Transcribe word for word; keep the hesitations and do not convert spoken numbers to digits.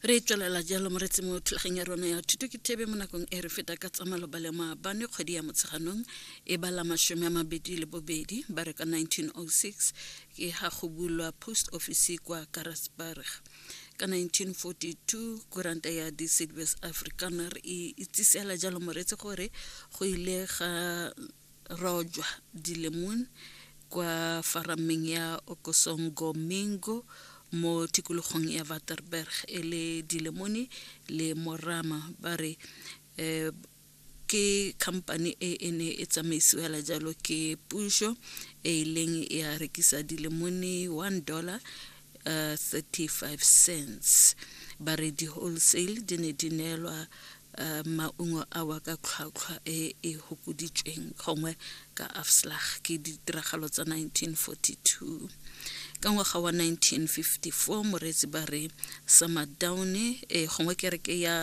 Re tswelela jalo, moretsi, mo thulageng ya rona ya Thuto ke Thebe. Mo nakong e re feta ka tsamalo ba le maabane, kgwedi ya Motsheganong e bala mashome a mabedi le bobedi. Ba re ka nineteen oh six ke ga go bulwa post office kwa Karasburg. Ka nineteen forty-two kuranta ya Die Suidwes Afrikaner e itsisela jalo, moretsi, gore go ile ga rojwa dilemon kwa farameng ya Okosongomingo mo tikologong ya Waterberg, e le dilemone le morama. Ba re um ke company e e ne e tsamaisiwela jalo ke puso, e e leng ya rekisa dilemone one dollar uh, thirty-five cents. Ba re di-wholesale di ne di neelwa uh, maungo awa ka tlhwatlhwa e e hokoditsweng, gongwe ka afslag. Ke ditiragalo tsa nineteen forty-two. Ka ngwaga wa nineteen fifty-four, moreetsi, ba re Samadown e gongwe kereke ya